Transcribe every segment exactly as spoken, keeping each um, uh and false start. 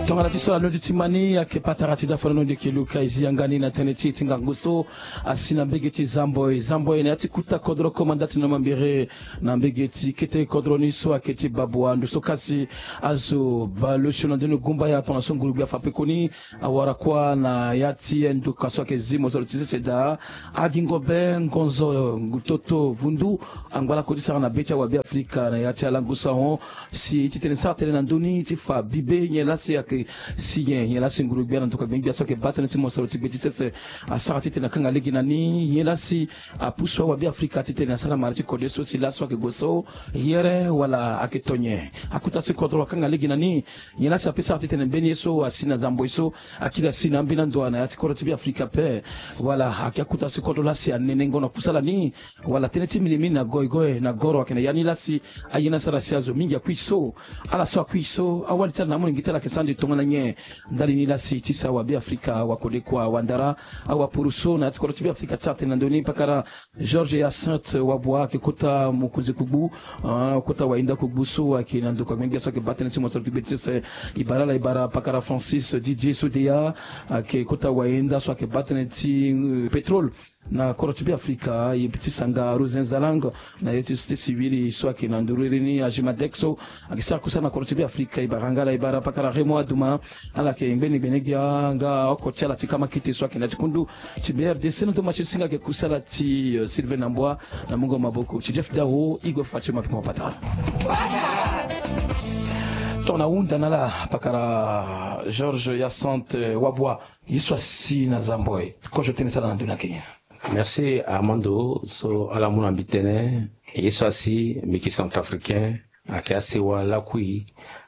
Tongana ti so alondi ti ma ni ayeke patara ti da fana londi eke luka e zi yanga ni na tënë ti e ti ngangu so asi na mbege ti Zamboi. Zamboi na ya ti kuta kodro koma nda ti na mambere na mbege ti kete kodro ni so ayeke ti Babua. Ndo so kasi azo bale osio na ndoni gumbaya tongana so nguru-gbia afa pe koni awara kuâ na ya ti nduka so ayeke zi mozoro ti sese daa. Agingo be ngonzo ngu toto vundu angba lakue ti sara na be ti awabe afrika na ya ti alangu sahon. Si ti tene sara tënë na ndö ni ti fa bibe nyen lasi ayeke si nyen nyen lasi nguru-gbia na nduka gbeni-gbia so ayeke baa tënë ti mosoro ti gbe ti sese asara ti tene akanga lege na ni nyen lasi apusu awabe afrika ti tene asara mara ti kode so si laso ayeke gue so yere wala ayeke to nyen. Akuta si kodro akanga lege na ni nyen lasi ape sara ti tene mbeni ye so asi na Zamboi so akiri asi na ambeni ando na ya ti kodro ti be afrika ape. Wala ayeke akuta si kodro lasi anene ngo na kusala ni. Wala tënë ti minimini na goigoi na goro ayeke na ya ni lasi aye ni asara si azo mingi akui so. Ala so akui so awali ti ala na amolenge ti ala ayeke sara ande tongana nyen? Ndali ni lasi ti sa awabe afrika wakode kua wandara awapuru so na ya ti kodro ti be afrika ti sara tene na ndö ni pakara Georges Hyacinthe Wabua ayeke kota mokonzi kugbu, ah, kota wayenda kugbu so ayeke na ndokua gbengbe so ayeke baa tënë ti mosoro ti gbe ti sese. E bara ala e bara pakara Francis Didier Sodeya ayeke kota wayenda so ayeke baa tënë ti pétrole na kodro ti be afrika. E ti sanga Rosin Zalang na ye ti société civile so ayeke na nduru iri ni Agimadec so ayeke sara kusala na kodro ti be afrika. E bara nga ala e bara pakara Raymond Adouma ala yeke ngbeni gbene-gbia nga oko ti ala ti kamakite so ayeke na ya ti kundu ti be rdc na ndo ma ti singa ayeke kusala ti, eh, Sylvain Nambwa na mungo maboko ti Jeff Dao. Igwe Fatima Pima Patara. Tongana hunda na ala pakara Georges Hyacinthe Wabua. Ye so asi na Zamboi kozo tënë ti ala na ndö ni ayeke nyen? Merci Armando. So ala mu na mbi tënë ye so asi mbi yeke centrafricain. Ayeke asewa lakui,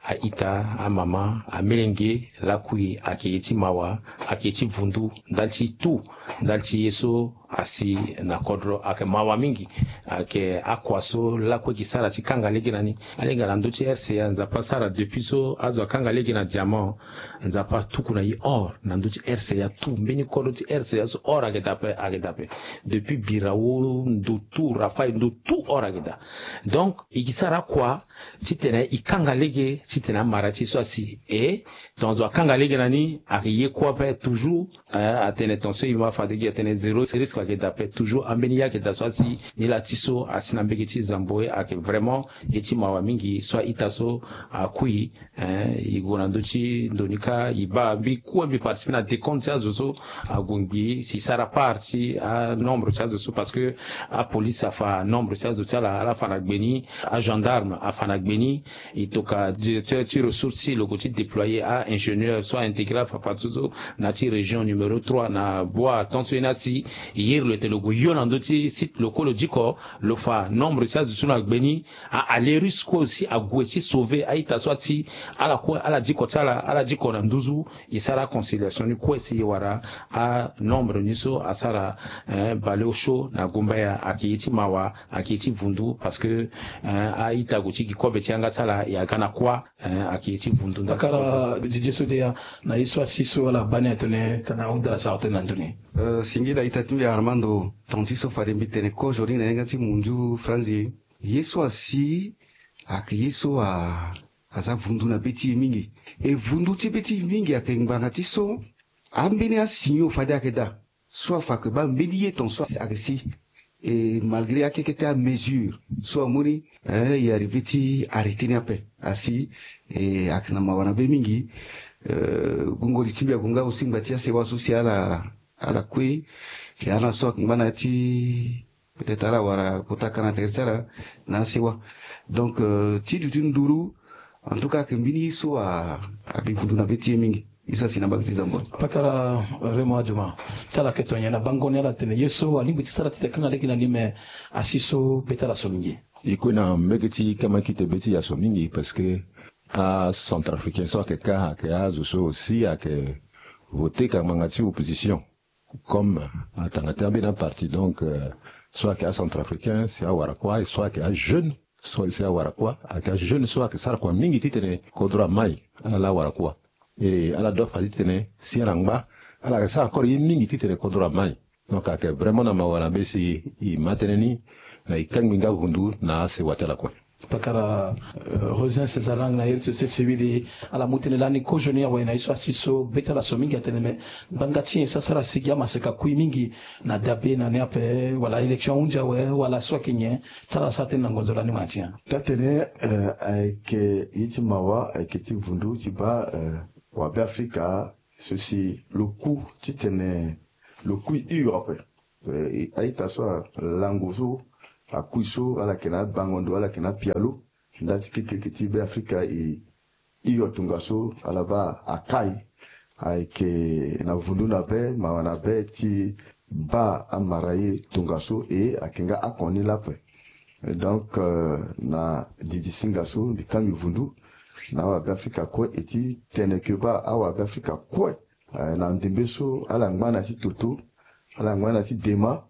a-ita, amama, amelenge lakui ayeke ye ti mawa, ayeke ye ti vundu ndali ti tout, ndali ti ye so asi na kodro ayeke mawa mingi. Ayeke akua so lakue e ke sara ti kanga lege na ni. Alingbi na ndö ti R C A Nzapa asara depuis so azo akanga lege na diamant. Nzapa atuku na e or na ndö ti R C A tout. Mbeni kodro ti R C A so or ayeke daa ape, ayeke daa ape. Depuis Birao, ndo tout, Rafael, ndo tout or ayeke daa. Donc e ke sara akua titene e kanga lege titene amara ti e so asi. E tongaso akanga lege na ni ayeke ye kue ape toujours. Eh, atene tongaso e ma fade gi atene zéro risque ayeke daa ape toujours. Ambeni ye ayeke daa so asi ni laa ti so asi na mbege ti Zamboi ayeke vraiment ye ti mawa mingi so a-ita so akui. Eh, e gue na ndö ti ndo ni kâ e baa mbi kue mbi participer na décompte ti azo so ague ngbii si e sara part ti anombre ti azo so parce que apolice afa nombre ti azo ti ala, ala fa na gbe ni, agendarme afa na gbe ni. E tokua directeur ti ressource ti lo gue ti déployer a-ingénieur so a-intégrer afa partout so na ya ti région numéro trois na boi tant so ye ni asi. E yere lo ete lo gue yo na ndö ti site lo kue lo diko lo fa nombre ti azo so na gbe ni. A-aller russe kue aussi ague ti sauver a-ita so ati ala kue ala diko ti ala, ala diko na nduzu. E sara aconciliation ni kue si e wara anombre ni so asara, eh, baleosio na gumbaya ayeke ye ti mawa, ayeke ye ti vundu parce que, eh, a-ita gue ti gi kobe ti yanga ti ala e aga na kuâ. Eh, ayeke ye ti vundu ndali ti kobe. Pakara Didier Sodeya, na ye so asi so ala baa ni atene tana ahunda ala sara tënë na ndö ni. Eh, singila ita ti mbi Armando, tonga ti so fade mbi tene kozo ni na yanga ti munzu franzi. Ye so asi ayeke ye so a, aza vundu na be ti e mingi. E vundu ti be ti e mingi ayeke ngbanga ti so ambeni asignaux fade ayeke daa so afa ayeke baa mbeni ye tongaso ayeke si. E malgré akekete amesure so amu ni, eh, e arrivé ti arrêter ni ape. Asi, eh, ayeke na mawa na be mingi. Eh, gongoli ti mbi ague nga aussi ngba ti asewa so si ala, ala kue. E ala so ayeke ngba na ya ti peut-être ala wara kota kana tere ti ala na asewa. Donc, euh, ti duti nduru, en tout cas ayeke mbeni ye so a, abi vundu na be ti e mingi. Ye so asi na mbage ti Zamboi. Pakara Raymond Adouma, ti ala yeke to nyen na bango ni ala tene ye so alingbi ti sara ti tene akanga lege na ni me asi so be ti ala so mingi. E kue na mbage ti kamakite be ti e aso mingi parce que acentrafricain so ayeke kâ ayeke azo so aussi ayeke voter ka ngbanga ti opposition. Comme atanga ti ambeni aparti donc, euh, so ayeke acentrafricain si awara kuâ, so ayeke ajeune, so si awara kuâ, ayeke ajeune so ayeke sara kua mingi titene kodro amai ala la awara kuâ. E ala doit fa titene si ala ngba ala yeke sara encore ye mingi titene kodro amai. Donc ayeke vraiment na mawa na be si e ma tënë ni na e kangbi nga vundu na asewa ti ala kue. Pakara Rosin César Lang na iri ti société civile, ala mu tënë lani kozo ni awe na ye so asi so be ti ala so mingi atene me ngbanga ti nyen so asara si gi amaseka kui mingi na dabe na ni ape, wala élection ahunzi awe, wala so ayeke nyen? Ti ala sara tënë na ngonzo lani ma ti nyen? Taa-tënë, eh, ayeke ye ti mawa, ayeke ti vundu ti baa, eh, wabe Afrika so si lo ku titene lo kui hio ape. Eh, a-ita so alango so akui so ala yeke na abango ndo, ala yeke na apialo. Nda ti kekereke ti Be Afrika e hio tongaso ala baa akai. Ayeke na vundu na be, mawa na be ti baa amara ye tongaso e ayeke nga ako ni laa ape. Donc, euh, na didi singa so mbi kangbi vundu na awabe Afrika kue e ti tene ke baa awabe Afrika kue, eh, na ndembe so ala ngba na ya ti toto, ala ngba na ya ti dema,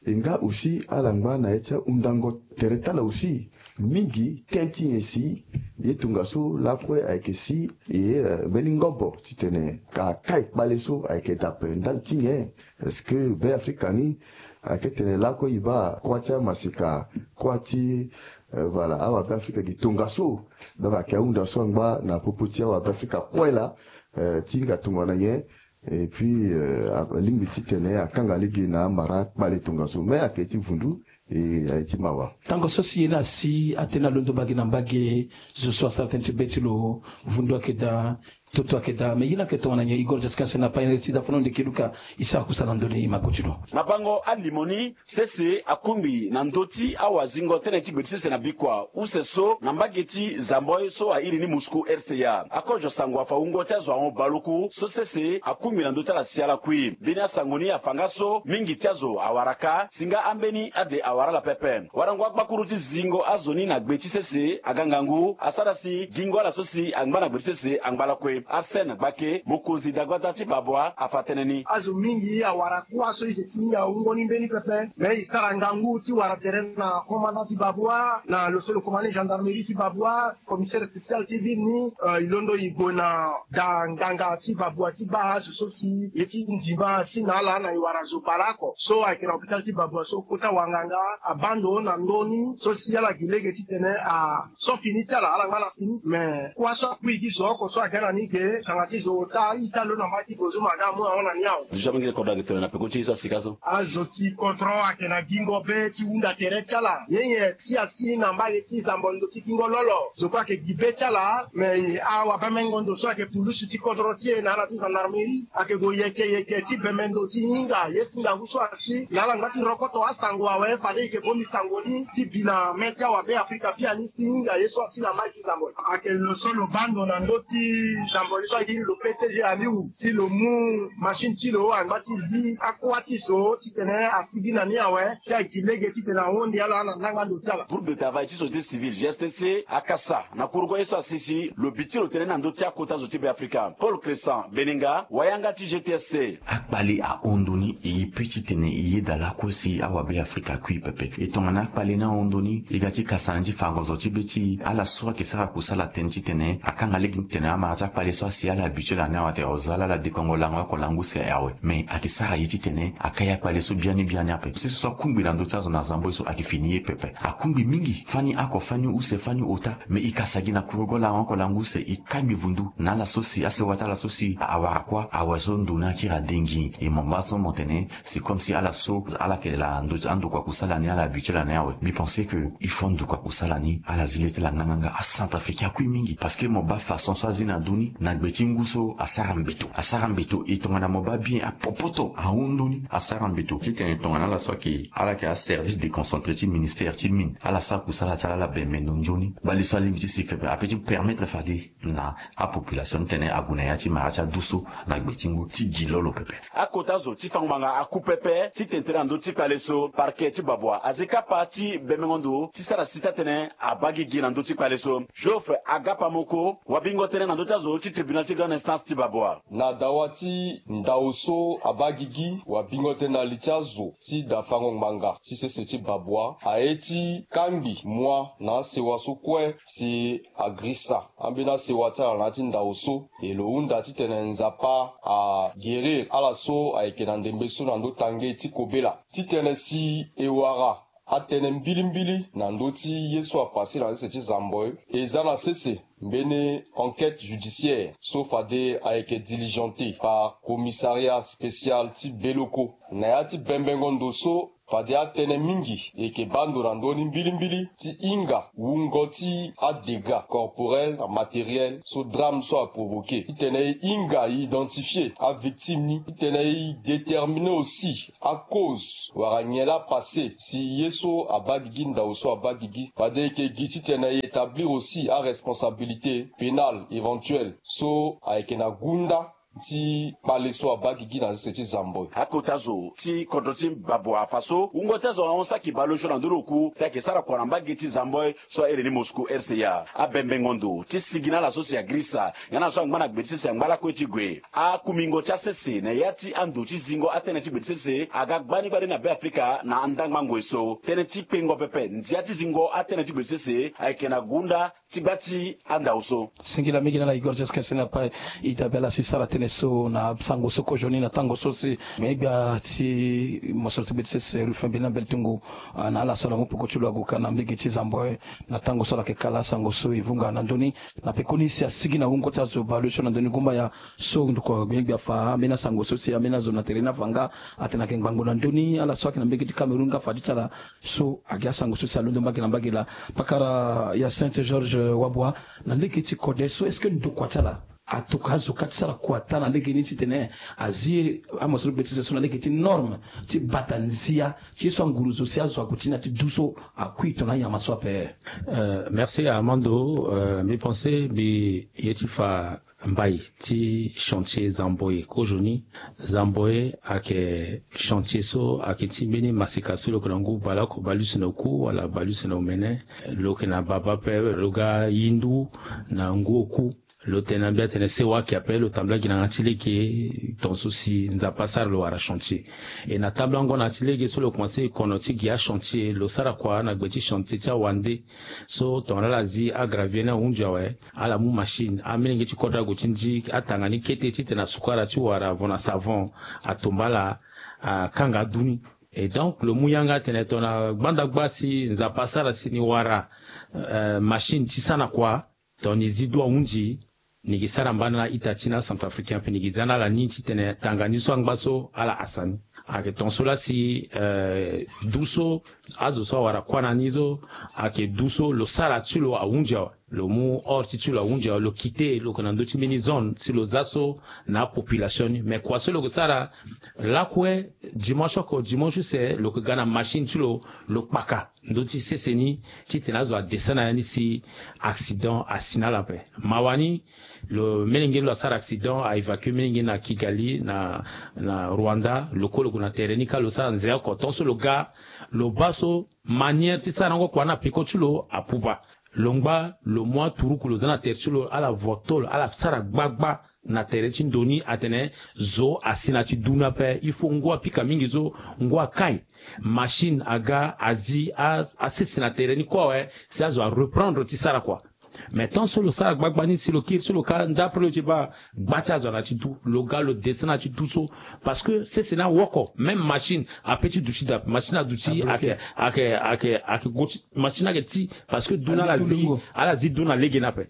e nga aussi ala ngba na ya ti ahundango tere ti ala aussi mingi. Tënë ti nyen si ye tongaso lakue ayeke si e, eh, mbeni ngobo titene ka kai kpale so ayeke daa ape ndali ti nyen? Est-ce que Be Afrika ni ayeke tene lakue e baa kuâ ti amaseka, kuâ ti, eh, voilà, awabe Afrika gi tongaso? Donc ayeke ahunda so angba na popo ti awabe Afrika kue laa, eh, ti hinga tongana nyen? Et puis, euh, alingbi titene akanga lege na amara kpale tongaso, me ayeke ti vundu, e aye ti mawa. Tango so si ye ni asi atene alondo mbage na mbage, zo so asara tënë ti be ti lo, vundu ayeke daa, toto ayeke daa, me ye ni ayeke tongana nyen? Igor Jaskin Sena, payene ti dafa na ndo eke luka, e sara kusala na ndö ni, e ma ko ti lo. Na bango alimo ni, sese akungbi na ndö ti awazingo tënë ti gbe ti sese na bikua use so na mbage ti Zamboi so a iri ni Moscou, R C A. Akozo sango afa wungo ti azo ahon baleoku so sese akungbi na ndö ti ala si ala kui. Mbeni asango ni afa nga so mingi ti azo awara kâ, si nga ambeni ade awara ala pepe. Warango agbakuru ti zingo azo ni na gbe ti sese aga ngangu asara si gingo ala so si angba na gbe ti sese angba lakue. Arsène Gbake, mokonzi dagbata ti Babwa, afa tënë ni. Azo mingi awara kuâ so e yeke ti hinga wungo ni mbeni pepe. Me e sara ngangu ti wara tere na commandant ti Babwa, na lo so lo commandant gendarmerie ti Babwa, commissaire spécial ti ville ni, euh, e londo e gue na daa nganga ti Babwa ti baa azo so si ye ti ndima asi na ala na e wara zo baleoko so ayeke na hôpital ti Babwa so kota wanganga abaa ndo na ndö ni so si ala gi lege titene a so fini ti ala, ala nga na fini. Me kuâ so akui gi zo oko so aga na ni ge, kanga ti zo ota ita lo na mbage ti bozo ma aga amu ahon na ni awe. Déjà mingi kodro ayeke tene na peko ti ye so asika so. Azo ti kodro ayeke na gingo be ti hunda tere ti ala. Nyen nyen si asi na mbage ti Zamboi ndo ti gingo lolo, zo kue ayeke gi be ti ala. Me awabemengo ndo so ayeke pulusu ti kodro ti e na ala ti gendarmerie ayeke gue yeke yeke ti bembe ndo ti hinga ye ti ngangu so asi na ala ngba ti rokoto asango awe, fade e yeke bongbi sango ni ti bi na mê ti awabe Afrika biani ti hinga ye so asi na mbage ti Zamboi. Ayeke lo so lo baa ndo na ndö ti Zamboi so ayeke lo P T G Aliou, si lo mu machine ti lo angba ti zi akuâ ti zo titene asigi na ni awe, si agi lege titene ahon ni ala na ndangba ndo ti ala. Groupe de travail ti société civile, G S T C, akasa na kurugo ye so asi si lo bi ti lo tënë na ndö ti akota zo ti Be Afrika. Paul Crescent Benenga, wayanga ti G T S C. Akpale ahon ndo ni, e ye pe titene e yeda lakue si awabe Afrika kui pepe. E tongana akpale ni ahon ndo ni, e ga ti kasa na ni ti fango zo ti be ti e. Ala so ayeke sara kusala tënë titene akanga lege titene amara ti akpale so asi ala habitué na ni awe, atene o za ala ala dekongo lango oko lango use awe. Me ayeke sara ye titene akai akpale so biani biani ape. Sese so akungbi na ndö ti azo na Zamboi so ayeke fini ye pepe. Akungbi mingi, fani oko, fani use, fani ota. Me e kasa gi na kurugo lango oko lango use, e kangbi vundu na ala so si, asewa ti ala so si awara kuâ awe so ndo ni akiri adengi. E mo baa so mo tene, c'est comme si ala so ala yeke na ndö ti andokua kusala ni, ala habitué na ni awe. Mbi pense que il faut andokua kusala ni ala zi le ti ala nganganga. Acentrafricain akui mingi parce que mo baa façon so azi na ndö ni na gbe ti ngu so asara mbeto. Asara mbeto. E tongana mo baa bien apopoto ahon ndo ni, asara mbeto. Titene tongana ala so ayeke, ala yeke aservice déconcentré ti ministère ti mine, ala sara kusala ti ala, ala bembe ndo nzoni. Bale so alingbi ti si pepe ape ti permettre fade na apopulation titene ague na ya ti mara ti adu so na gbe ti ngu ti gi lolo pepe. Akota zo ti fango ngbanga aku pepe titene tere na ndö ti kpale so. Parquet ti Babwa azi kapa ti bemengo ndo ti sara si taa-tënë abaa gigi na ndö ti kpale so. Geoffrey Agapamoko, wabingo tënë na ndö ti azo ti tribunal ti grande instance ti Babwa. Na dawa ti ndao so abaa gigi, wabingo tënë na li ti azo ti dafango ngbanga ti sese ti Babwa aye ti kangbi mua na asewa so kue si agrisa ambeni asewa ti ala na ya ti ndao so. E lo hunda titene Nzapa aguérir ala so ayeke na ndembe so na ndö tange ti kobela. Titene si e wara atene mbilimbili na ndö ti ye so apase na sese ti Zamboi. Eza na sese mbeni enquête judiciaire so fade ayeke diligentée par commissariat spécial ti Beloko. Na ya ti bembengo ndo so, fade atene mingi eke baa ndo na ndö ni mbilimbili ti hinga wungo ti adégâts corporels na matériels so drame so aprovoqué, titene e hinga e identifier avictime ni, titene e déterminer aussi acause wala nyen laa apase si ye so abaa gigi, ndau so abaa gigi. Fade eke gi titene e établir aussi aresponsabilité pénale éventuelle so ayeke na gunda ti kpale so abaa gigi na sese ti Zamboi. Akota zo ti kodro ti Babou afa so wungo ti azo ahon saki baleosio na ndö ni oku si ayeke sara kua na mbage ti Zamboi so ahere ni Moscou R C A. Abembengo ndo ti sigi na ala so si agrisa nga na so angba na gbe ti sese angba lakue ti gue. Akumingo ti asese na ya ti ando ti zingo atënë ti gbe ti sese aga gbani gbani na Be Afrika na andangba ngoi so. Tënë ti kpengo pepe ndia ti zingo atënë ti gbe ti sese ayeke na gunda ti gba ti andau so. Singila mingi na ala e goro ti sese na pa ita be ala so e sara tënë so na sango so kozoni na tango so si me gbia ti mosoro ti gbe ti sese Rufin Bina Beltungu, ah, na ala so ala mu peko ti lo ague ka na mbage ti Zamboi na tango so ala yeke kala sango so e vunga na ndö ni. Na pekoni si asigi na wungo ti azo baleosio na ndö ni gumbaya so ndokua gbia gbia afa ambeni asango so si ambeni azo na tere ni afa nga atene ayeke ngbangbo na ndö ni ala so ayeke na mbage ti Cameroun nga afa ti ti ala so agi asango so si alondo mbage na mbage laa. Pakara Hyacinthe Georges Wabua, na lege ti kode so est-ce que ndokua ti ala atokua azo kâ ti sara kua ata na lege ni titene azi amosoro gbe ti sese so na lege ti norme ti bata nzia ti ye so anguru zo si azo ague ti ni na ti du so akui tongana anyama so ape? Euh, merci Armando. Euh, mbi pense mbi ye ti fa mbai ti chantier Zamboi kozoni. Zamboi ayeke chantier so ayeke ti mbeni masika so lo yeke na ngu baleoko baleuse na oku wala baleuse na omene. Lo yeke na baba ape lo ga yindu na ngu oku. Lo tene na mbi atene sewa ayeke ape lo tambula gi na yanga ti lege ton so si Nzapa asara lo wara chantier. E na tambulango na yanga ti lege so lo komanse kono ti gi achantier lo sara kua na gbe ti chantier ti awande. So tongana ala zi agravier ni ahunzi awe, ala mu machine, amolenge ti kodro ague ti ndi atanga ni kete titene asukara ti wara avant na savon atomba ala, akanga adu ni. Et donc lo mu yanga atene tongana gbanda gba si Nzapa asara si ni wara, euh, machine ti sana kua, tongana ni zi du ahunzi, ni gi sara mbana na ita ti na Centrafricain ape, ni gi za na ala ni titene tanga ni so angba so ala hasa ni. Ayeke ton so laa si, euh, du so azo so awara kuâ na ni so ayeke du so lo sara ti lo ahunzi awe. Lo mu or ti ti lo ahunzi awe, lo quitté, lo yeke na ndö ti mbeni zone si lo za so na apopulation ni. Mais kua so lo yeke sara lakue, dimanche oko dimanche use lo yeke ga na machine ti lo, lo kpaka ndö ti sese ni titene azo adescend na ya ni si accident asi na ala ape. Mawa ni, lo melenge ni lo asara accident, a évacuer melenge ni na Kigali, na, na Rwanda. Lo kue lo gue na tere ni kâ, lo sara nze oko. Tant so lo ga, lo bâ so manière ti sarango kua ni na peko ti lo apupa. Lo ngba, lo mu aturuku lo za na tere ti lo, ala voto lo, ala sara gbagba na tere ti ndo ni atene zo asi na ti du ni ape. Il faut ngu apika mingi so, ngu akai. Machine aga azi a, asese na tere ni kue awe, si azo areprendre ti sara kua. Mais tant so lo sara gbagba ni si lo kiri so lo ka nda après lo ti bâ gba ti azo na ti du, lo ga lo descend na ti du so. Parce que sese ni awoko, même machine ape ti duti daa, machine aduti, ake, ake, ake, ake go ti, machine ake ti, parce que du ni ala zi, ala zi du na lege ni ape.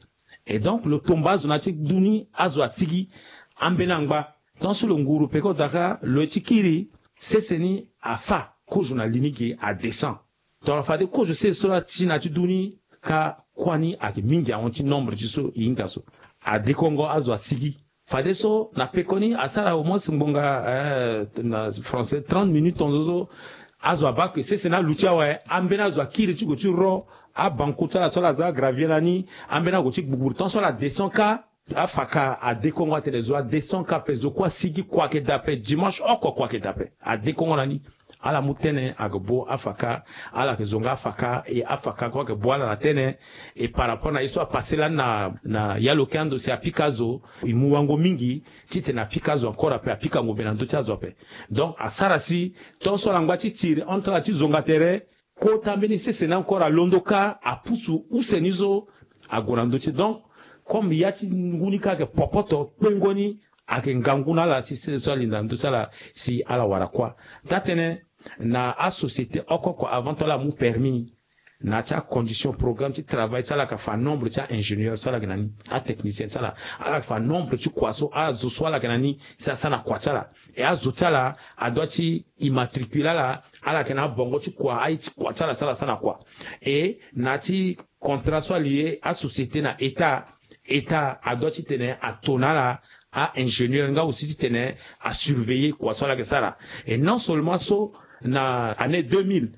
Et donc lo tomba azo na ti du ni, azo asigi, ambeni angba. Tant so lo nguru peko daa kâ, lo ye ti kiri, sese ni afâ, kozo na li ni ge adescend. Tongana fade kozo sese so laa ti na ti du ni kâ, kuâ ni ayeke mingi ahon ti nombre ti so e hinga so. Adekongo azo asigi. Fadeso na pekoni asara au moins ngbonga, eh, na français trente minutes tonzo so. Azo abaa ke sese ni aluti awe, ambeni azo akiri ti gue ti ro abanku ti ala so ala za agravier lani, ambeni ague ti gbugburu tant so ala descend kâ. Afaka adekongo atene zo adescend kâ ape, zo kue asigi, kua ayeke daa ape, dimanche oko kua ayeke daa ape. Adekongo na ni. Ala mu tene ayeke bo afaka, ala yeke zo nga afaka, e afaka kue ayeke bo ala na tene. E par rapport na ye so apase lani na, na ya lo ke ando si apika zo, e mu wango mingi titene apika zo encore ape, apika ngombe na ndö ti azo ape. Donc asara si tant so ala ngba ti tiri entre ala ti zonga tere, kota mbeni sese ni encore alondo kâ, apusu use ni so ague na ndö ti. Donc comme ya ti ngu ni kâ ayeke popoto, kpengo ni ayeke ngangu na ala si sese so alinda na ndö ti ala si ala wara kuâ. Taa-tënë, na asociété oko oko avant ti ala amu permis ni, na ya ti acondition programme ti travail ti ala yeke fa nombre ti aingénieur so ala yeke na ni, atechnicien ti ala, ala yeke fa nombre ti kua so, azo so ala yeke na ni si asara na kua ti ala. E azo ti ala adua ti immatricule ala, ala yeke na abongo ti kua, aye ti kua ti ala si ala sara na kua. E na ya ti contrat so alie asociété na état, état adua titene ato na ala aingénieur nga aussi titene asurveiller kua so ala yeke sara. Et non seulement so, na année deux mille,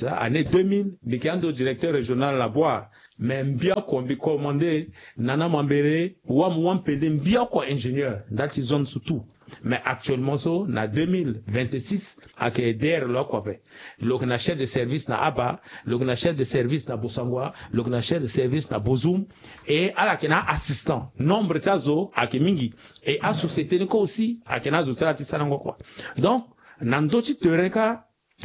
année deux mille mbi yeke ando directeur régional na Bouar, mais mbi oko mbi commandé na na mambere wam wam pende mbi oko ingénieur ndali ti zone so tout. Mais actuellement so na deux mille vingt-six ayeke D R lo oko ape. Lo yeke na chef de service na Aba, lo yeke na chef de service na Bossangoa, lo yeke na chef de service na Bozoum. Et ala yeke na assistant, nombre ti azo ayeke mingi. Et asociété ni kue aussi ayeke na azo ti ala ti sarango kua. Donc na ndö ti terrain kâ,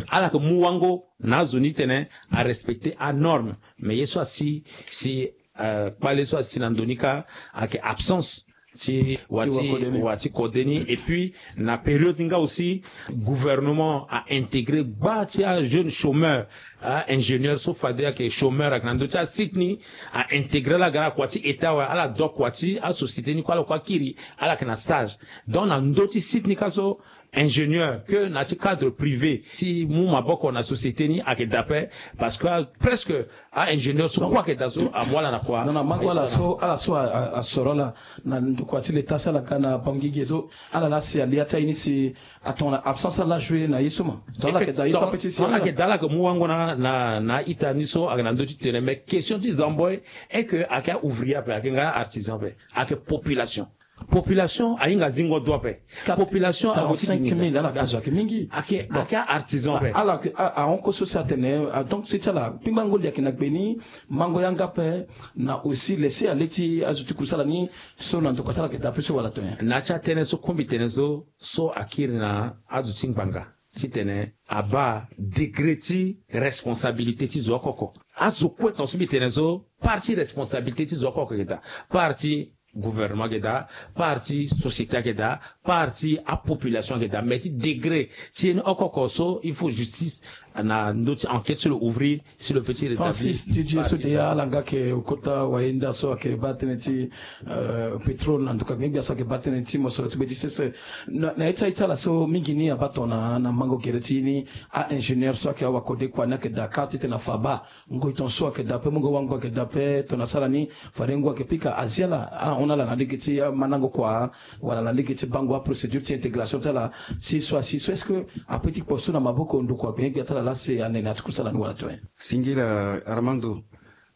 ala yeke mu wango na azo ni titene arespecter anorme. Mais ye so asi si, euh, kpale so asi na ndo ni kâ ayeke absence ti wa ti, wa ti kode ni. Et puis na période ni nga aussi gouvernement a intégré gba ti ajeune chômeur, aingénieur so fade ayeke chômeur ayeke na ndö ti asite ni, a intégré ala aga na kua ti état awe, ala dua kua ti asociété ni kue, ala kue akiri, ala yeke na stage. Donc na ndö ti site ni kâ so, ingénieur que na ti cadre privé ti mu maboko na société ni ayeke daa ape. Parce que presque aingénieur so kue ayeke daa so amu ala na kua. Donc na mango ala so, ala so asoro ala na ndokua ti l'état si ala ga na bangi ge so, ala laa si alia ti aye ni si atongana absence ala laa jouer na ye so ma. Donc ala yeke daa ye so ape ti si ala yeke daa, ala yeke mu wango na, na, na a-ita ni so ayeke na ndö ti tene. Mais question ti Zamboi est que ayeke a-ouvrier ape, ayeke nga artisan ape, ayeke population. Population ahinga zingo dua ape. Population ago ti quarante-cinq mille, ala azo ayeke mingi. Ayeke, ayeke artisan ape. Ala ahon kue so si atene, ah, donc si ti ala kpingbango li ayeke na gbe ni, mango yanga ape, na aussi laisser aller ti azo ti kusala ni so na ndokua ti ala ayeke daa ape so wala tonga. Na ya ti atënë so kue mbi tene so, so akiri na azo ti ngbanga titene abaa degré ti responsabilité ti zo oko oko. Azo kue tonga so mbi tene so, part ti responsabilité ti zo oko oko ayeke daa, part ti gouvernement ayeke daa, part ti société ayeke daa, part ti apopulation ayeke daa, mais ti degré ti ye ni oko oko so il faut justice na ndö ti enquête so lo ouvrir, si lo peut ti rétablir. Francis Didier so deya ala nga ayeke kota wayenda so ayeke baa tënë ti, euh, pétrole na ndokua gbia gbia so ayeke baa tënë ti mosoro ti be ti sese. Na, na ye ti aye ti ala so mingi ni abaa tongana na mango gere ti ye ni, a-ingénieur so ayeke awakode kua ni ayeke daa kâ titene afa baa ngoi tongaso ayeke daa ape, mungo wango ayeke daa ape, tongana asara ni fade ngu ayeke pika azi ala, ala hon na ala na lege ti mandango kua wala na lege ti bango aprocédure ti intégration ti ala. Si so asi so est-ce que ape ti kpo so na maboko ndokua gbia gbia ti ala laa si ane na ya ti kusala ni wala tonga? Singila Armando,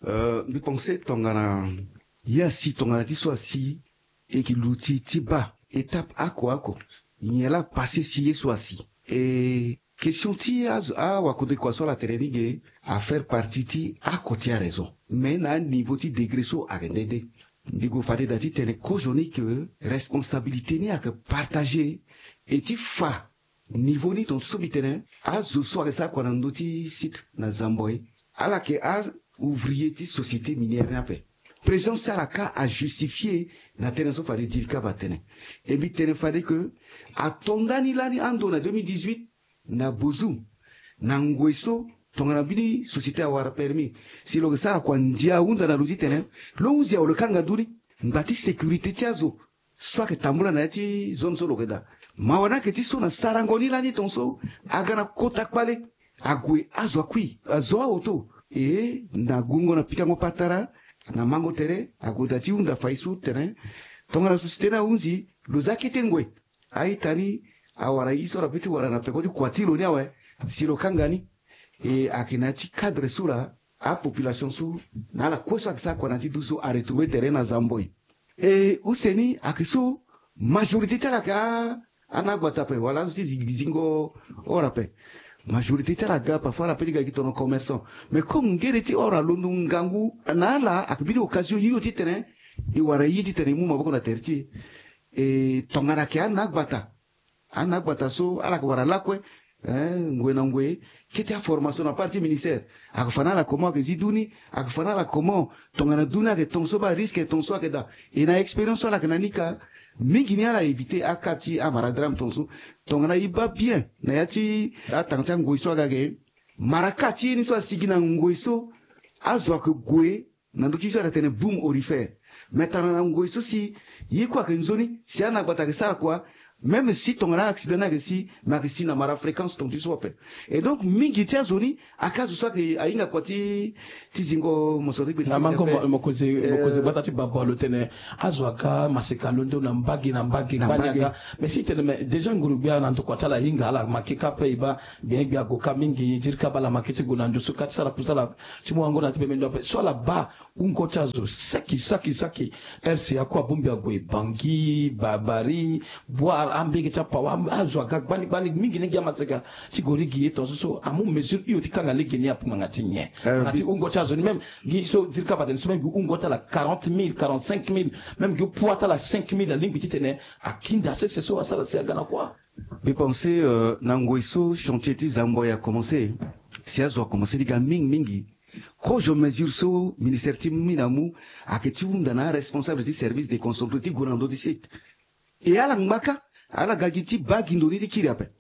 euh, mbi pense tongana ye asi tongana ti so asi e yeke luti ti baa étape oko oko. Nyen laa apassé si ye so asi. E question ti azo, awakode kua so ala tene ni ge afaire partie ti oko ti araison. Mais na aniveau ti degré so ayeke nde nde. Mbi gue fade daa titene kozoni ke responsabilité ni ayeke partagé. E ti fa niveau ni tongaso so mbi tene, azo so ayeke sara kua na ndö ti site na Zamboi, ala yeke a-ouvrier ti société minière ni ape. Présence ti ala kâ ajustifié na tënë so fade Djilika abaa tene. E mbi tene fade ke ato ndani lani ando na deux mille dix-huit na Bozoum, na ngoi so tongana mbeni société awara permis, si lo yeke sara kua ndia ahunda na lo titene lo hunzi awe lo kanga ndu ni. Ngba ti sécurité ti azo so ayeke tambula na ya ti zone so lo yeke daa. Mawa ni ayeke ti so na sarango ni lani tongaso aga na kota kpale. Ague azo akui, azo aoto. E na gungo na pikango patara, na mango tere, ague daa ti hunda fai so tene tongana société ni ahunzi, lo zia kete ngoi. A-ita ni awara ye so ala peut ti wara na peko ti kua ti lo ni awe, si lo kanga ni. E ayeke na ya ti cadre so laa apopulation so na ala kue so ayeke sara kua na ya ti duti so aretrouver tere na Zamboi. E use ni ayeke so majorité ti ala ayeke a, anagbata ape wala azo ti zi-, zingo oro ape. Majorité ti ala aga, parfois ala peut ti ga gi tongana commerçant. Mais comme ngere ti oro alondo ngangu na ala, ayeke mbeni occasion hio titene e wara ye titene e mu maboko na tere ti e. E tongana ayeke anagbata, anagbata so ala yeke wara lakue, eh, ngoi na ngoi, kete aformation na part ti ministère. Ayeke fa na ala comment ayeke zi du ni, ayeke fa na ala comment tongana du ni ayeke ton so baa, risque ton so ayeke daa. E na expérience so ala yeke na ni ka, mingi ni ala éviter aka ti amara drame ton so. Tongana e baa bien na ya ti atanga ti angoi so aga ge, mara ka ti ye ni so asigi na ngoi so azo ayeke gue na ndö ti so ala tene boom aurifère. Mais tana na ngoi so si ye kue ayeke nzoni, si ana gbata ayeke sara kua, même si tongana accident ni ayeke si, mais ayeke si na mara fréquence ton ti so ape. Et donc mingi ti azo ni aka azo so ayeke ahinga kua ti, ti zingo mosoro ti gbe ti na mango mo- mokonzi mokonzi gbata ti baba lo tene azo aka maseka londo na mbage na mbage. Na kpani mbage. Aka mais si tene mais déjà nguru gbia na ndokua ti ala ahinga ala make ka ape e baa bien gbia ago ka mingi, ziri ka baa ala make ti gue na ndusu ka ti sara kusala ti mu wango na ti bembe ndo ape so ala baa wungo ti azo saki saki saki. R C A kue abongbi ague Bangui, Ba- Bari, Bouar, ambege ti apawa am- azo aga gbani gbani mingi ni gi amaseka ti gue lege ye ton so so amu mesure hio ti kanga lege ni ape ngbanga ti nyen? Eh, ngbanga ti wungo ti azo ni même gi so ziri ka baa tene so même gi wungo ti ala quarante mille, quarante-cinq mille, même gi poids ti ala cinq mille alingbi titene akinda sese so asara si aga na kua. Mbi pense, euh, na ngoi so chantier ti Zamboi a commencé, si azo a commencé ti ga mingi mingi. Kozo mesure so ministère ti mine amu ayeke ti hunda na aresponsable ti service déconcentré ti gue na ndö ti site. E ala ngba ka, ala ga gi ti baa gi ndo ni ti kiri ape,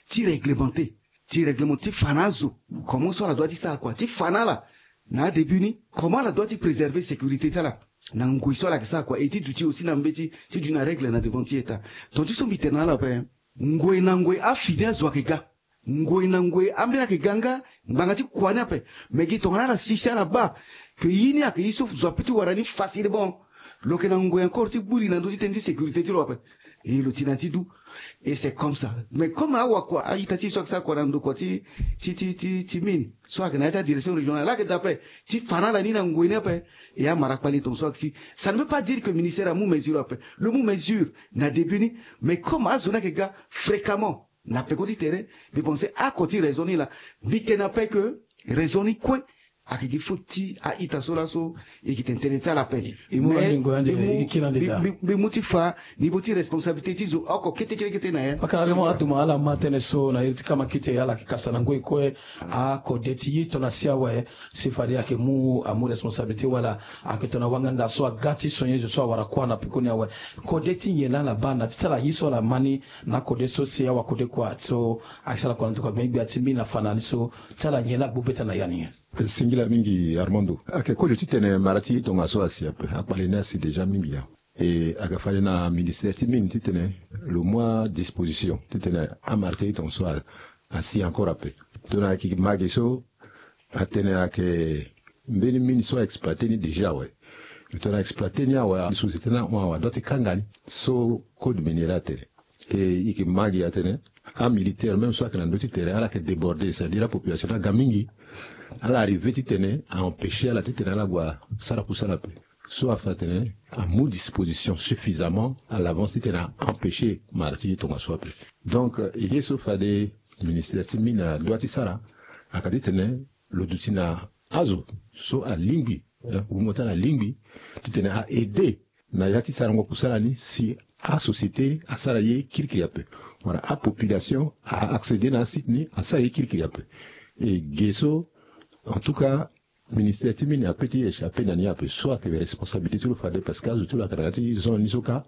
ti réglementé, ti réglementé ti fa na azo comment so ala doit ti sara kua, ti fa na ala na adébut ni comment ala doit ti préserver sécurité ti ala na ngoi so ala yeke sara kua, e ti duti aussi na mbeti ti duti na règle na devant ti état. Ton ti so mbi tene na ala ape, ngoi na ngoi afini azo ayeke ga. Ngoi na ngoi ambeni ayeke ga nga ngbanga ti kua ni ape. Mais gi tongana ala si si ala baa que ye ni ayeke ye so zo ape ti wara ni facilement, lo yeke na ngoi encore ti gbu li na ndö ti tënë ti sécurité ti lo ape. E lo ti na ti du. Et c'est comme ça. Mais comme awakua a-ita ti e so ayeke sara kua na ndokua ti ti ti ti ti mine so ayeke na ya ti adirection régionale, ala yeke daa ape ti fa na ala ni na ngoi ni ape. E amara kpali ton so ayeke si. Ça ne veut pas dire que ministère amu mesure ape. Lo mu mesure na début ni. Mais comme azo ni ayeke ga fréquemment na peko ti tere, mbi pense oko ti raison ni laa. Mbi tene ape que raison ni kue ayeke gi faute ti a-ita so laso. E yeke tene tënë ti ala ape. E mu mais ande ngoi ande mbi mu- e yeke kiri ande mbi- daa. Mbi- mbi mu ti fa niveau ti responsabilité ti zo oko kete kete kete na ya. Pakara Raymond Atuma, ala ma tënë so na iri ti kamakite, ala yeke kasa na ngoi kue akode ti ye tongana si awe, si fade ayeke mu amu responsabilité wala ayeke tongana wanganga so aga ti sonye zo so awara kuâ na peko ni awe. Kode ti nyen laa ala baa na ti ti ala ye so ala ma ni na akode so si awakode kua so ayeke sara kua na ndokua gbengbe gbia ti mbi na fa na ni so ti ala nyen laa agbu beta na ya ni? Singila mingi Armando. Ayeke kozo titene mara ti tongaso asi ape, akpale ni asi déjà mingi ya. E ayeke fade na ministère ti mine titene lo mu adisposition titene amara ti tongaso a- asi encore ape. Tongana ayeke ma ge so atene ayeke mbeni mine so a exploité ni déjà awe. Tongana exploité ni awe, société ni ahon awe, adua ti kanga ni. So code minier atene. E e yeke ma gi atene amilitaire même so ayeke na ndö ti terrain, ala yeke débordé, c'est-à-dire apopulation ni aga mingi. Ala arrivé titene a empêché ala titene ala gue sara kusala ape. So afa atene amu disposition suffisamment à l'avance titene a empêché mara ti ye tongaso ape. Donc, euh, ye so fade ministère ti mine adua ti sara, aka titene lo duti na azo so alingbi, eh, wungo ti ala alingbi titene a aidé na ya ti sarango kusala ni si asociété asara ye kirikiri ape, wala apopulation a accédé na asite ni asara ye kirikiri ape. E ge so, en tout cas, ministère ti mine ape ti échappé na ni ape. So ayeke responsabilité ti lo fade, parce que azo ti lo ayeke na ya ti zone ni so kâ.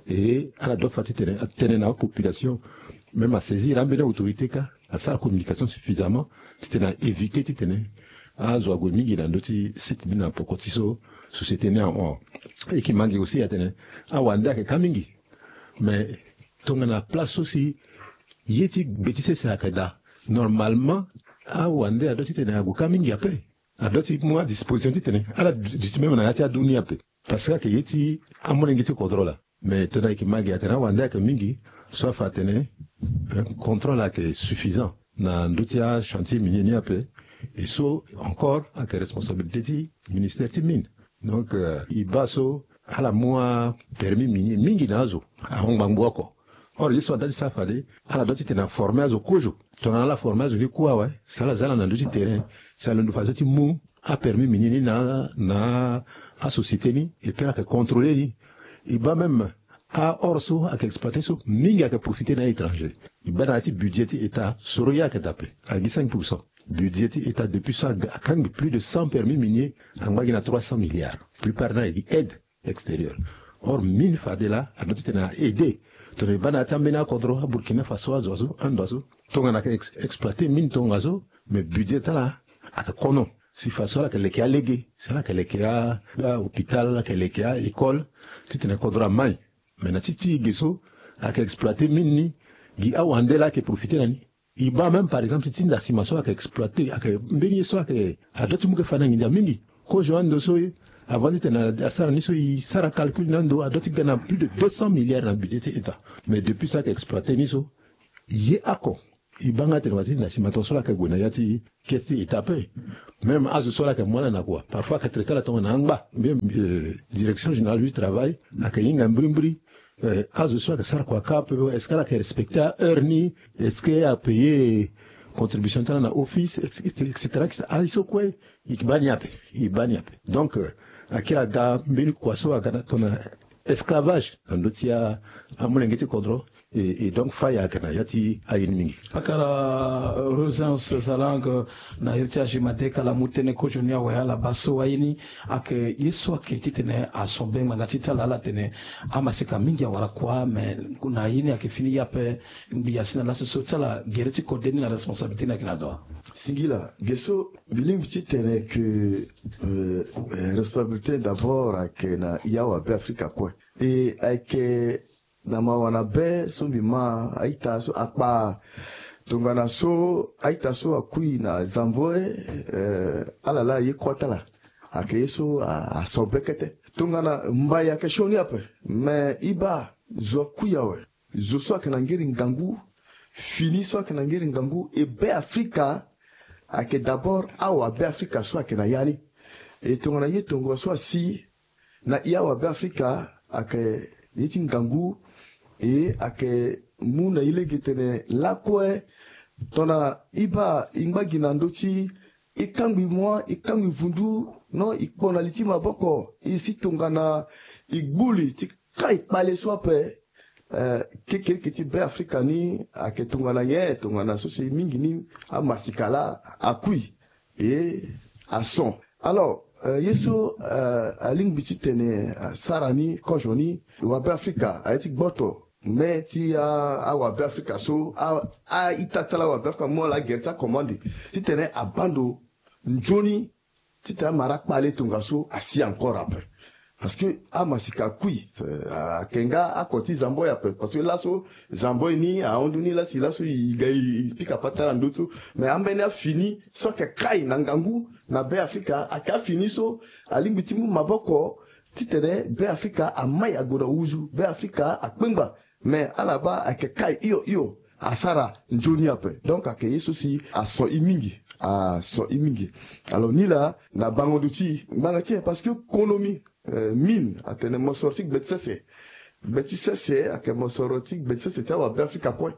E ala doit fa titene atene na apopulation, même asaisir ambeni autorité kâ, asara communication suffisamment titene a éviter titene azo ague mingi na ndö ti site ni na poko ti so société ni ahon. E yeke ma gi aussi atene awande ayeke kâ mingi. Mais tongana place so si ye ti gbe ti sese ayeke daa, normalement awande adua titene ague kâ mingi ape. Adua ti mu adisposition titene ala duti même na ya ti adu ni ape. Parce que ayeke ye ti amolenge ti kodro laa. Mais tongana e yeke ma gi atene awande ayeke mingi, so afa atene, eh, contrôle ayeke suffisant na ndö ti achantier minier ni ape. E so encore ayeke responsabilité ti ministère ti mine. Donc, euh, e baa so ala mu apermis minier mingi na azo ahon ngbangbo oko. Or ye so adua ti sara fade, ala dua titene aformer azo kozo. Tongana ala former azo ni kue awe, si ala za ala na ndö ti terrain, si alondo fadeso ti mu apermis minier ni na na asociété ni, et puis ala yeke contrôler ni. E baa même A or so ayeke exploité so, mingi ayeke profité na étranger. E baa na ya ti budget ti état soro ye ayeke daa ape, ayeke gi cinq pour cent. Budget ti état depuis so aga akangbi plus de cent permis minier, angba gi na trois cent milliards. Plupart ni ayeke gi aide extérieure. Or mine fade laa adua titene a aidé. Tongana e baa na ya ti ambeni akodro, aburkina faso, azo azo ando azo, tongana ayeke exploité mine tongaso. Mais budget ti ala ayeke kono. Si faso ala yeke leke alege, si ala yeke leke ahôpital, ala yeke leke a-école, titene kodro amai. Mais na ti ti ge so ayeke exploité mine ni, gi awande laa ayeke profité na ni. E baa même par exemple ti ti nda sima so ayeke exploité, ayeke mbeni ye so ayeke adua ti mu ke fa na nginza mingi. Kozo ando so, avant titene asara ni so, e sara calcul na ando, adua ti ga na plus de deux cents milliards na budget ti état. Mais depuis so ayeke exploité ni so, ye oko e baa nga tene wa ti nda sima tongaso laa ayeke gue na ya ti keti ti état ape. Même azo so laa ayeke mu ala na kua, parfois ayeke traité ala tongana angba. Même direction générale du travail ayeke hinga mbirimbiri. Azo so ayeke sara kua kâ ape, est-ce que ala yeke respecté aheure ni? Est-ce que apayé contribution ti ala na office, et cetera? Aye so kue e baa ni ape, e baa ni ape. Donc akiri aga mbeni kua so aga na tongana esclavage na ndö ti amolenge ti kodro. Et donc faya aga na ya ti aye ni mingi. Akara Rosens Salang, na iri ti age made kala mu tënë kozoni awe ala baa so aye ni ayeke ye so ayeke titene aso be ngbanga ti ti ala ala tene amaseka mingi awara kua, me na ye ni ayeke fini ye ape. Ngbi asi na laso so ti ala gere ti kode ni na responsabilité ni ayeke na ndo. Singila ge so mbi lingbi ti tene ke responsabilité d'abord ayeke na ya awabe afrika kue. E ayeke na mawa na be so mbi ma a-ita so akpa tongana so a-ita so akui na zambo, ala laa aye kuâ ti ala. Ayeke ye so aso be kete tongana mbai ayeke sioni ape. Me e baa zo akui awe, zo so ayeke na ngeri ngangu, fini so ayeke na ngeri ngangu e be afrika. Ayeke d'abord awabe afrika so ayeke na ya ni. E tongana ye tongo so asi na e awabe afrika ayeke ye ti ngangu. E ayeke mu na e lege tene lakue tongana e baa e ngba gi na ndö ti e kangbi mua, e kangbi vundu, non, e kpo na li ti maboko, e si tongana e gbu li ti kai kpale so ape. Kekereke ti be afrika ni ayeke tongana nyen? Tongana so si mingi ni amasika laa akui e ason. Alors ye so alingbi ti tene asara ni kozo ni, wabe afrika aye ti gboto me ti awabe afrika so, a-ita ti ala awabe afrika mu ala agere ti akomande titene abaa ndo nzoni titene amara kpale tongaso asi encore ape. Parce que amasika akui. Ayeke nga ako ti zambo ye ape parce que laso zambo ye ni ahon ndo ni lasi laso e ga e pika patara ndo so. Mais ambeni afini so ayeke kai na ngangu na be afrika ayeke afini so alingbi ti mu maboko titene be afrika amai ague na wuzu, be afrika akpengba. Mais ala baa ayeke kai hio hio asara nzoni ape. Donc ayeke ye so si aso e mingi, aso e mingi. Alors nilaa na bango ndo ti e ngbanga ti e parce que konomi mine atene mosoro ti gbe ti sese. Gbe ti sese ayeke mosoro ti gbe ti sese ti awabe afrika kue.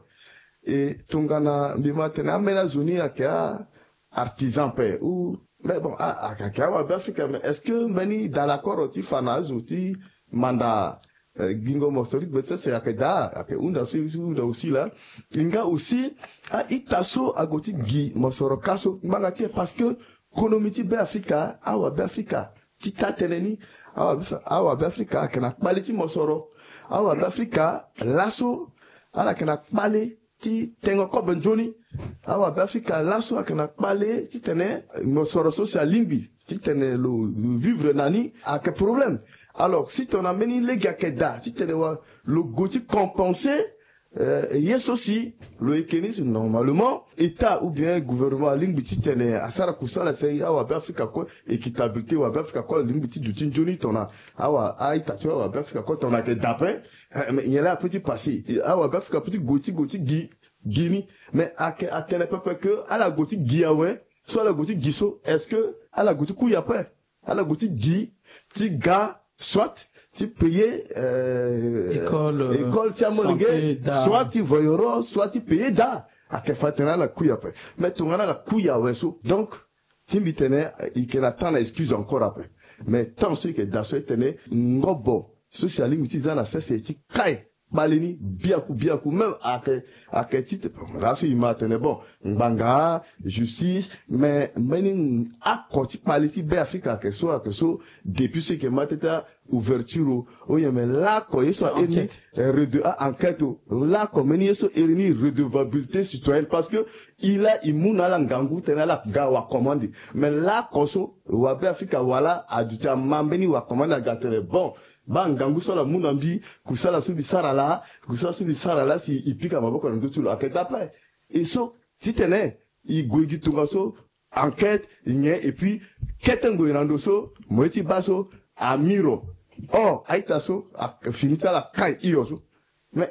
E tongana mbi ma tene ambeni azo ni ayeke a-artisan ape ou mais bon ayeke awabe afrika mais est-ce que mbeni da lakoro ti fa na azo ti manda gingo mosoro ti gbe ti sese ayeke daa? Ayeke hunda so e hunda aussi laa. E nga aussi a-ita so ague ti gi mosoro kâ so ngbanga ti e parce que konomi ti be afrika, awabe afrika ti taa tënë ni. Awabe afrika ayeke na kpale ti mosoro. Awabe afrika laso ala yeke na kpale ti tengo kobe nzoni. Awabe afrika laso ayeke na kpale titene mosoro so si alingbi titene lo vivre na ni ayeke problème. Alors si tongana mbeni lege ayeke daa titene wa lo gue ti compenser ye so si lo yeke ni si normalement état ou bien gouvernement alingbi titene asara kusala si awabe afrika kue, équitabilité wabe afrika kue alingbi ti duti nzoni tongana awa a-ita ti awabe afrika kue tongana ayeke daa ape. Mais nyen laa ape ti passé awabe afrika ape ti gue ti gue ti gi gi ni. Mais ayeke atene pepe ke ala gue ti gi awe. So ala gue ti gi so est-ce que ala gue ti kui ape? Ala gue ti gi ti ga soit ti payer école ti amolenge, soit ti voyoro, soit ti payer daa. Ayeke fa tene ala kui ape. Mais tongana ala kui awe so donc ti mbi tene e yeke na temps na excuse encore ape. Mais temps so e yeke daa so e tene ngobo so si alingbi ti za na sese ti kai kpale ni biaku biaku. Même ayeke ayeke ti te laso e ma atene bon, ngbanga, justice, mais mbeni ako ti kpale ti Be Afrika ayeke so ayeke so. Depuis so e yeke ma tete ouverture o, oye me lako ye so a iri ni, eh, rede a enquête o, lako mbeni ye so iri ni redevabilité citoyenne, parce que e laa e mu na ala ngangu tene ala ga wakomande. Mais lako so wabe Afrika wala aduti ama mbeni wakomande aga tene bon, baa ngangu so ala mu na mbi, kusala so mbi sara laa, kusala so mbi sara laa si e pika maboko na ndö ti lo ayeke dape. E so titene e gue gi tongaso, enquête nyen, et puis kete ngoi na ndo so mo ye ti baa so amiro. Or a-ita so afini ti ala kai hio so. Mais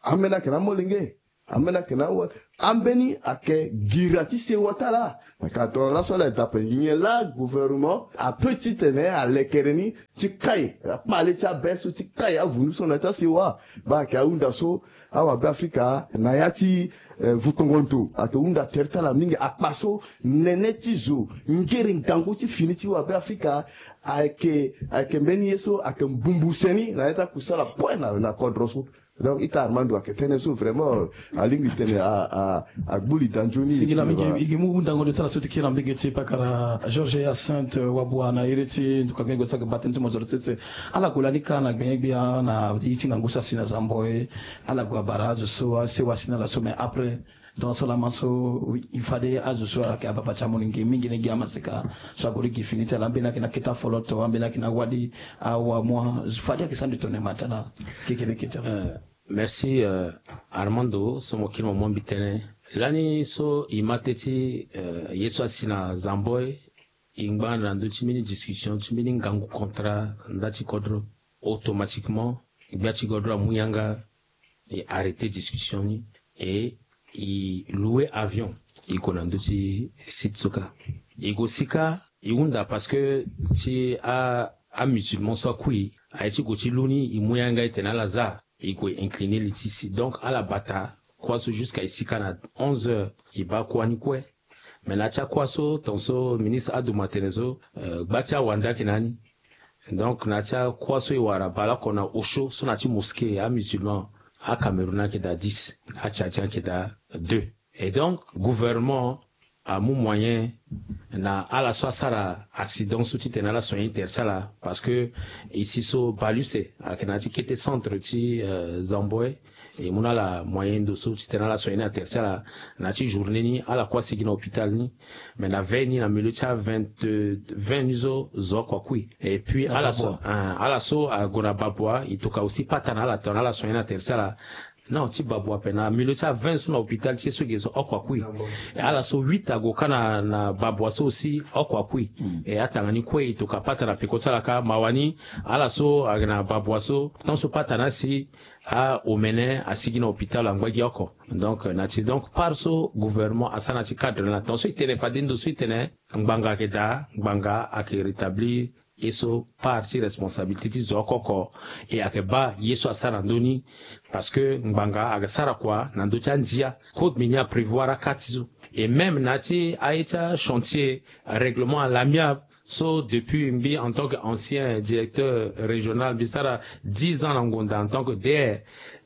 ambeni ayeke na amolenge, ambeni ayeke na awa, ambeni ayeke gira ti sewa ti ala. Ka tongana laso ala dape nyen laa gouvernement ape titene alekere ni ti kai akpale ti abe so ti kai avundu so na ya ti asewa. Baa ayeke ahunda so awabe Afrika na ya ti, eh, vukongo ndo ayeke hunda tere ti ala mingi. Akpa so nene ti zo ngere ngangu ti fini ti wabe Afrika ayeke ayeke mbeni ye so ayeke mbumbu seni na ya ti akusala kue na, na kodro so. Donc ita Armando ayeke tënë so vraiment alingbi tene a, a, agbu li da nzoni. Singila mingi. E yeke mu hundango nde ti ala so ti kiri na mbege ti pakara Georges Hyacinthe Wabua na iri ti nduka gbengo ti ayeke baa tënë ti mo zo sese. Ala gue lani kâ na gbenyo-gbia na iri ti ngangu so asi na Zamboi. Ala gue abara azo so asewa asi na ala so, mais après donc so lama so e fade azo so ayeke ababa ti amolenge mingi na e gi amaseka so ague ti gi fini ti ala, ambeni ayeke na kete afoloto, ambeni ayeke na wali, awamua, fade ayeke sara ndo tongana e ma ti ala. Kekereke ti ala. Euh, merci, euh, Armando, so mo kiri mo mu mbi tënë. Lani so e ma teti, euh, ye so asi na Zamboi, e ngba na ndö ti mbeni discussion ti mbeni ngangu contrat nda ti kodro. Automatiquement gbia ti kodro amu yanga, e arrêter discussion ni, et e louer avion, e gue na ndö ti site so kâ. E gue si kâ, e hunda parce que ti a, amusulman so akui, aye ti gue ti lu ni, e mu yanga e tene ala za, e gue incliner li ti si. Donc ala bata kuâ so jusqu'à e si kâ na onze heures, e baa kuâ ni kue. Mais na ya ti akuâ so, tongaso ministre aduma tene so, euh, gba ti awande ayeke na ni. Donc na ya ti akuâ so e wara baleoko na osio so na ya ti mosquée, amusulman aCameroun ayeke daa dix, aTchadien ayeke daa deux. Et donc gouvernement amu moyen na ala so asara accident so titene ala soigner tere ti ala, parce que e si so bale use ayeke na ya ti kete centre ti, euh, Zamboi. E mu na ala moyen ndo so titene ala soigner na tere ti ala. Na ya ti journée ni ala kue asigi na hôpital ni. Mais na veille ni, na milieu ti avingt, vingt ni so zo oko akui. Et puis ala so, ah, ala so ague na babua, e toka aussi pata na ala tongana ala soigner na tere ti ala. Non, ti babua ape na milieu ti avingt so na hôpital ti e so ge so oko akui. Et ala so huit ague kâ na, na babua so aussi oko akui. Et atanga ni kue e toka pata na peko ti ala kâ. Mawa ni, ala so ayeke na babua so, tant so pata ni asi, aomene asigi na hôpital angba gi oko. Donc na ti, donc part so gouvernement asara na ti cadre na tongaso e tene fade ndo so e tene ngbanga ayeke daa, ngbanga ayeke rétablir ye so part ti responsabilité ti zo oko oko. E ayeke baa ye so asara na ndö ni, parce que ngbanga ayeke sara kua na ndö ti andia. Code minier aprévoir aka ti so. Et même na ya ti aye ti achantier règlement à l'amiable, so depuis mbi en tant que ancien directeur régional, mbi sara dix ans na ngonda en tant que D R.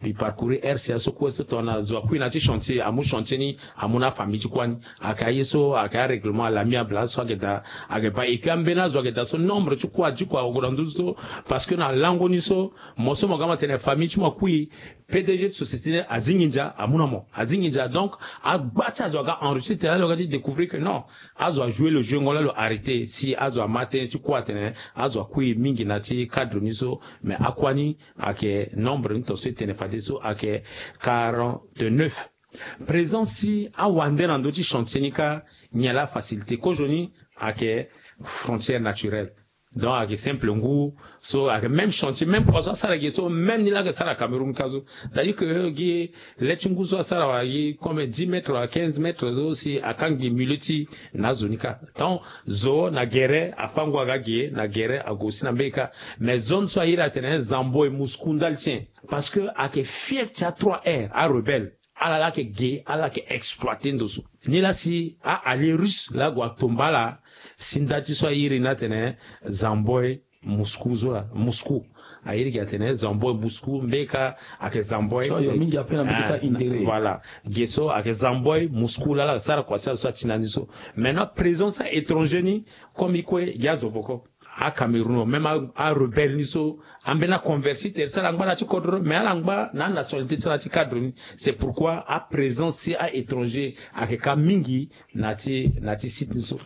Mbi parcourir R C A so kue so tongana zo akui na ya ti chantier, amu chantier ni amu na afamille ti kuâ ni. Ayeke aye so ayeke arèglement à l'amiable aso ayeke daa, ayeke baa. Et que ambeni azo ayeke daa so nombre ti kuâ adi kua ague na ndö so. Parce que na lango ni so, mo so mo ga mo tene famille ti mo akui, P D G ti société ni azi nginza amu na mo, azi nginza. Donc agba ti azo aga enrichir tene alo aga ti découvrir que non, azo ajoue lo jeu ngo laa lo arrêter. Si azo ama tënë ti kuâ atene azo akui mingi na ya ti cadre ni so. Mais akuâ ni ayeke nombre ni tongaso e tene fade so ayeke quarante-neuf. Présence ti awande na ndö ti chantier ni kâ, nyen laa afacilité? Kozoni ayeke frontière naturelle. Donc ayeke simple ngu so ayeke même chantier, même kua so asara ge so, même ni laa ayeke sara Cameroun kâ so. C'est-à-dire que gi le ti ngu so asara wala gi comme dix mètres wala quinze mètres so si akangbi milieu ti na azo ni kâ. Donc zo na gere afâ ngu aga ge, na gere ague aussi na mbege kâ. Mais zone so a iri atene Zamboi, Moscou ndali ti nyen? Parce que ayeke fief ti a trois R, arebelle. Ala laa ayeke ge, ala yeke exploiter ndo so. Nilaa si a-allié russe laa ague atomba ala si nda ti so a iri ni atene Zamboi, Moscou so laa, Moscou. Ayeke gi atene Zamboy Moscou, mbeni ka ayeke Zamboy. So yo mingi ape na mbeti ti ahindere. Voilà. Ge so ayeke Zamboy Moscou lala ayeke sara kua si azo so ati na ni so. Maintenant présence ti a-étranger ni, comme i kue gi azo boko, aCameroun, même a, arebelle ni so, ambeni aconverti tere ti ala angba na ya ti kodro, mais ala angba na anationalité ti ala ti cadre ni. C'est pourquoi aprésence ti a-étranger ayeke ka mingi na ya ti, na ya ti site ni so.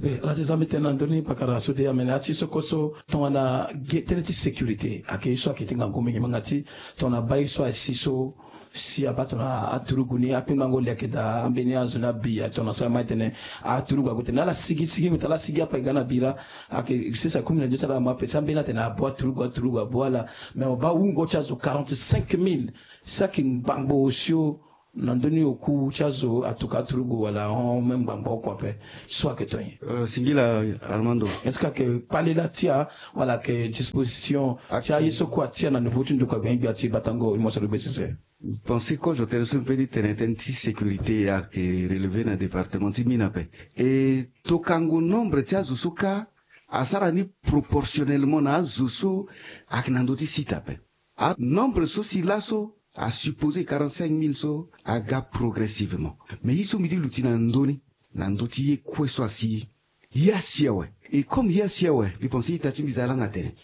Eh, ala ti za mbi tene na ndö ni pakara so de amene ya ti soko so tongana ge tënë ti sécurité ayeke ye so ayeke ti ngangu mingi, ma nga ti tongana baa ye so asi so si abaa tongana aturugu ni akpingbango le ayeke daa, ambeni azo ni abi aye tongana so ama tene aturugu ague tene ala sigi sigi ngbi tala ala sigi ape ga na bira. Ayeke sese akumi na ndio ti ala mo ape si ambeni atene abo aturugu aturugu abo ala. Mais mo baa wungo ti azo quarante-cinq mille si ayeke ngbangbo osio. Na ndö ni oku ti azo atuka aturugu wala ahon même ngbangbo oko ape so ayeke to nyen? Euh, singila Armando. Est-ce que ayeke kpale la ti a wala ayeke disposition ti aye so kue atia na niveau ti ndokua gbia gbia ti batango e mo so lo gbe sese? Pensé kozo tënë so mbi pe ti tene tënë ti sécurité ayeke relevé na département ti mine ape. E tokango nombre ti azo so kâ asara ni proportionnellement na azo so ayeke na ndö ti site ape. Anombre so si laso asupposé quarante-cinq mille so aga progressivement. Mais ye so mbi ti luti na ndö ni, na ndö ti ye kue so asi ye asi awe. Et comme ye asi awe, mbi pensé ita ti mbi za langa tene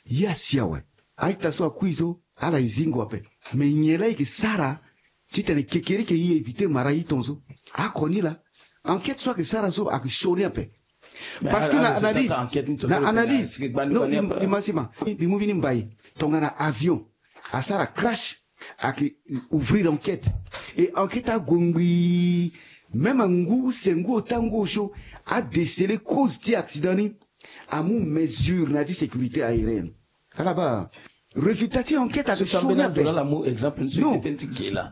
ye asi awe. A-ita so akui so ala e zingo ape. Mais nyen la e yeke sara titene kekereke e éviter mara ye tongaso? Oko ni laa, enquête so ayeke sara so ayeke sioni ape. Parce que na analyse, na analyse, non, i ma si ma, mbi mu mbeni mbai tongana avion asara crash, ayeke ouvrir enquête. Et enquête ague ngbii. Même angu use ngu ota ngu osio adéceler cause ti accident ni, amu mesure na ya ti sécurité aérienne. Ala baa résultat ti enquête ayeke sioni ape. Non.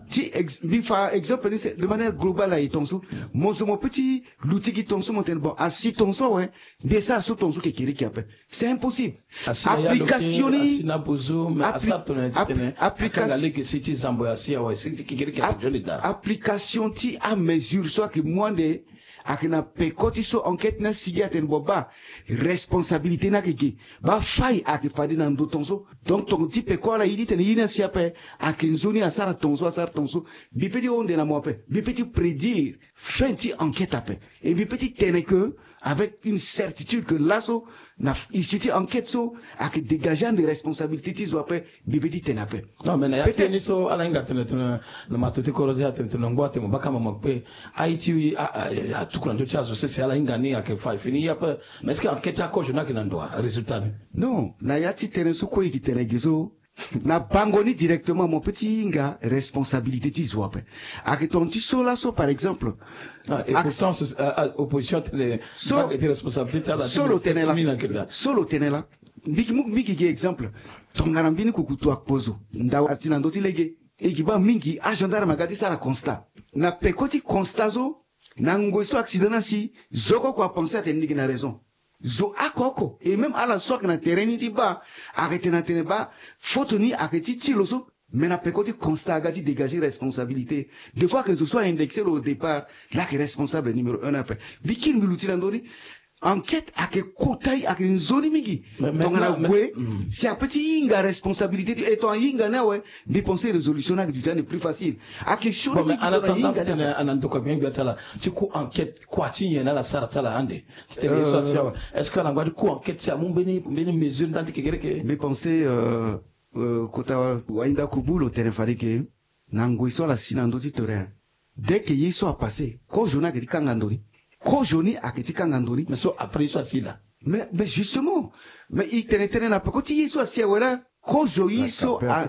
Ti ex-, mbi fa exemple ni de manière globale aye tongaso. Mo zo mo pe ti luti gi tongaso mo tene bon, asi tongaso awe, nde sara so tongaso kekereke ape. C'est impossible. Application ni, application ti amesure so ayeke mu ande ayeke na peko ti so enquête ni asigi atene bon, baa responsabilité ni ayeke ge, baa fay ayeke fade na ndo tongaso. Donc tonga ti peko ala ye ti tene ye ni asi ape, ayeke nzoni asara tongaso, asara tongaso. Mbi pe ti hon nde na mo ape, mbi pe ti prédire fin ti enquête ape. Et mbi pe ti tene que avec une certitude que laso na issue ti enquête so ayeke dégager ande responsabilité ti zo ape, mbi pe ti tene ape. Non, mais na ya ti tënë so ala hinga tene tene na mato ti kodro ti atene tene na ngu atene mo baka mama kpe. Aye ti a, a, atuku na ndö ti azo sese ala hinga ni ayeke fa e fini ye ape. Mais est-ce que enquête ti akozo ni ayeke na ndo, résultat ni? Non, na ya ti tënë so kue e yeke tene ge so, na bango ni directement mo pe ti hinga responsabilité ti zo ape. Ayeke tonga ti so laso par exemple. Ah, et pourtant opposition atene so, so lo tene la, so lo tene la. Mbi yeke mu, mbi yeke gi exemple. Tongana mbeni kukutu akpozo, ndau asi na ndö ti lege. E yeke baa mingi agendarme aga ti sara constat. Na peko ti constat so, na ngoi so accident ni asi, zo oko oko apenser atene ni yeke na raison. Zo oko oko, et même ala so ayeke na terrain ni ti baa, ayeke tene atene baa faute ni ayeke ti ti lo so. Mais na peko ti constat aga ti dégager responsabilité. Des fois ayeke zo so a-indexer lo au départ, la ayeke responsable numéro un ape. Mbi kiri mbi luti na ndö ni. Enquête ayeke kota, ayeke nzoni mingi. Tongana gue si ape ti hinga responsabilité ti e, tongana hinga ni awe, mbi pensé résolution ni ayeke duti ande plus facile. Ayeke sioni mingi tongana hinga ni awe. Ana ndokua gbia gbia ti ala ti ku enquête kua ti nyen na ala sara ti ala ande? Ti tene ye so asi awe, est-ce que ala ngba ti ku enquête si amu mbeni, mbeni mesure ndani ti kekereke? Mbi pensé, euh, euh, kota wahinda kubu lo tene fade ke na ngoi so ala si na ndö ti terrain. Dès que ye so apassé, kozo ni ayeke ti kanga ndo ni. Kozo ni ayeke ti kanga ndo ni. Mais so après ye so asi laa. Mais, mais justement, mais e tene tënë na peko ti ye so asi awe laa. Kozo ye so a,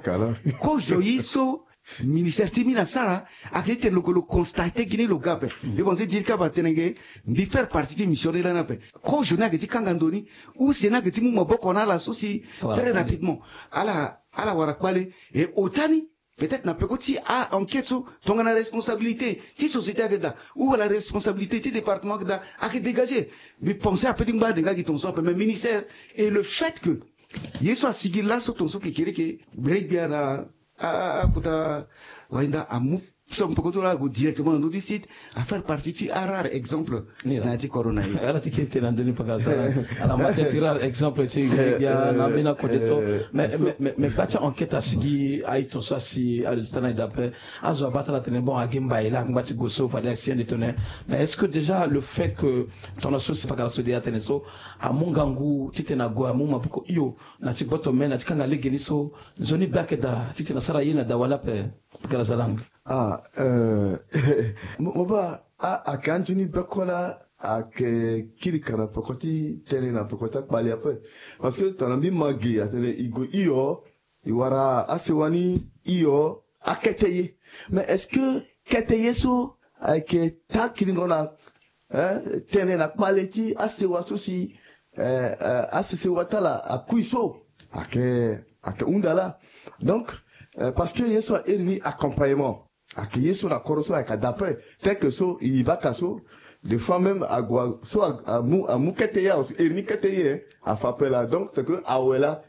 kozo ye so ministère ti mine asara, ayeke ti tene lo, lo constaté gi ni lo ga ape. Mbi pense ti diri kaba tene ge, mbi faire partie ti mission ni lani ape. Kozo ni ayeke ti kanga ndo ni. Use ni ayeke ti mu maboko na ala so si très rapidement ala, ala wara kpale. E ota ni, peut-être na peko ti a-enquête so, tongana responsabilité ti société ayeke daa, ou wala responsabilité ti département ayeke daa, ayeke dégagé. Mbi pense ape ti ngba ande nga gi tongaso ape, mais ministère, et le fait que ye so asigi laso tongaso kekereke, gbere gbia na a, a, a, kota wahinda amu so mpe koto la ague directement na ndö ti site, afaire partie ti arare exemple na ya ti corona ye. Ala ti kiri tene na ndö ni paka sara. Ala ma tene ti rare exemple ti gbia na mbeni akode so. Mais gba ti enquête asigi aye ton so asi aresultat na e d'après azo abata ala tene bon agi mbai la angba ti gue so fade asi ande tone. Mais est-ce que déjà le fait que ton na so si pakara so de atene so amu ngangu titene ague amu maboko hio na ti gboto me na ti kanga legeni so nzoni be ayeke daa titene asara ye na dawa ni ape? Pakara zalanga. Ah, euh, mo mo baa a ayeke anzoni be kue laa ayeke kiri ka na peko ti tënë na peko ti akpale ape. Parce que tongana mbi ma gi atene e gue hio, e wara asewa ni hio akete ye. Mais est-ce que kete ye so ayeke taa kiringo na eh, tënë na kpale ti asewa so si eh, eh, asesewa ti ala akui so ayeke ayeke hunda laa. Donc eh, parce que ye so airi ni accompagnement ayeke ye so na kodro so ayeke daa ape. Tel que so e baka so des fois même ague so amu amu kete ye awe so iri ni kete ye afa ape laa. Donc c'est que awe laa